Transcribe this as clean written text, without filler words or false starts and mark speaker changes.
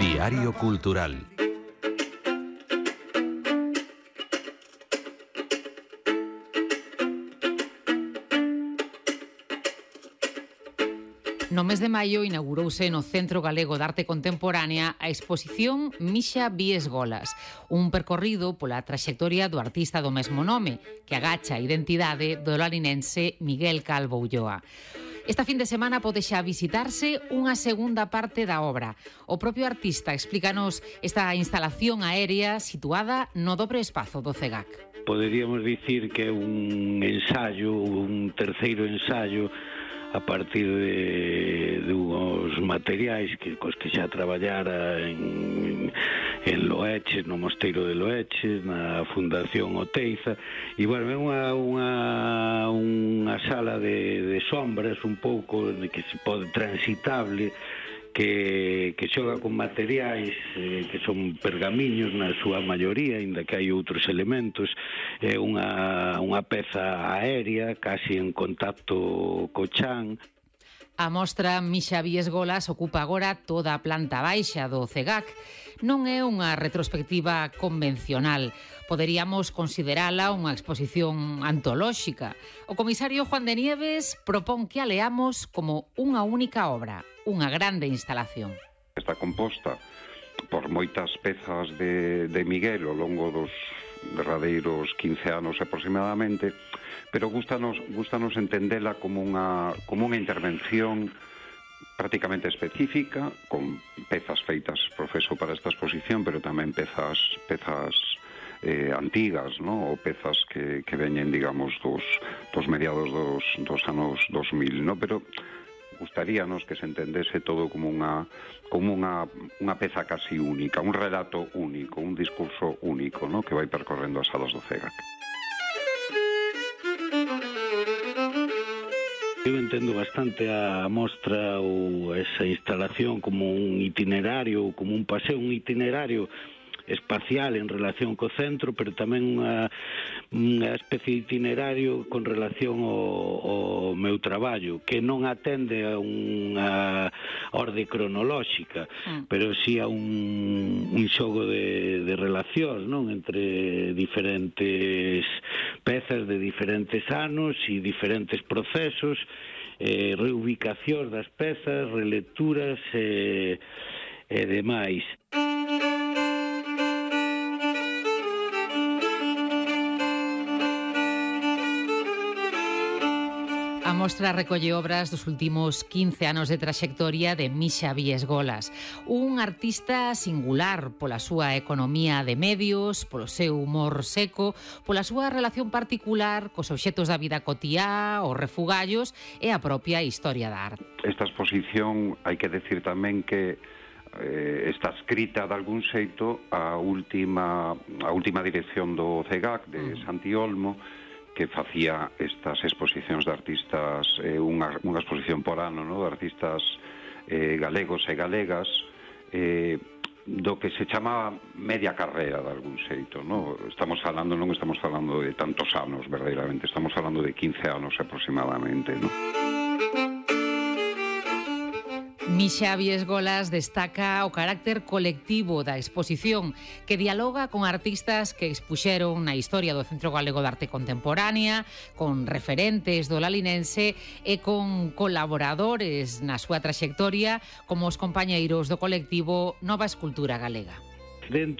Speaker 1: Diario Cultural.
Speaker 2: No mes de maio inaugurouse no Centro Galego de Arte Contemporánea a exposición Mixa Biesgolas, un percorrido pola traxectoria do artista do mesmo nome, que agacha a identidade do lalinense Miguel Calvo Ulloa. Esta fin de semana pode xa visitarse unha segunda parte da obra. O propio artista explícanos esta instalación aérea situada no dobre espazo do CEGAC.
Speaker 3: Poderíamos dicir que é un ensaio, un terceiro ensaio a partir de unhos materiais cos que xa traballara en Loeches, no Mosteiro de Loeches, na Fundación Oteiza, e, bueno, é unha sala de sombras un pouco que se pode transitable, que xoga con materiais que son pergamiños na súa maioría, aínda que hai outros elementos. É unha peza aérea, casi en contacto co chan.
Speaker 2: A mostra Mixa Biesgolas ocupa agora toda a planta baixa do CEGAC. Non é unha retrospectiva convencional. Poderíamos considerala unha exposición antolóxica. O comisario Juan de Nieves propón que a leamos como unha única obra, unha grande instalación.
Speaker 4: Está composta por moitas pezas de Miguel ao longo dos derradeiros 15 anos aproximadamente, pero gustanos entendela como unha intervención prácticamente específica, con pezas feitas profeso para esta exposición, pero tamén pezas antigas, ¿no? Ou pezas que veñen, digamos, dos mediados dos anos 2000, ¿no? Pero gustaríanos que se entendese todo como unha peza casi única, un relato único, un discurso único, ¿no? Que vai percorrendo as salas do CEGAC.
Speaker 3: Eu entendo bastante a mostra ou esa instalación como un itinerario, como un paseo, un itinerario espacial en relación co centro, pero tamén unha especie de itinerario con relación ao meu traballo, que non atende a unha orde cronolóxica, pero si a un xogo de relacións, non, entre diferentes pezas de diferentes anos e diferentes procesos, reubicacións das pezas, relecturas e demais.
Speaker 2: A mostra recolle obras dos últimos 15 anos de traxectoria de Mixa Biesgolas, un artista singular pola súa economía de medios, polo seu humor seco, pola súa relación particular cos obxetos da vida cotiá, os refugallos e a propia historia da arte.
Speaker 4: Esta exposición, hai que decir tamén que está escrita de algún xeito a última dirección do CEGAC de Santi Olmo, que facía estas exposicións de artistas, unha exposición por ano, ¿no? De artistas galegos e galegas, do que se chama media carrera de algún xeito, ¿no? Non estamos falando de tantos anos, verdadeiramente, estamos falando de 15 anos aproximadamente, ¿no?
Speaker 2: Mixa Biesgolas destaca o carácter colectivo da exposición, que dialoga con artistas que expuxeron na historia do Centro Galego de Arte Contemporánea, con referentes do lalinense e con colaboradores na súa traxectoria, como os compañeiros do colectivo Nova Escultura Galega.
Speaker 3: Dentro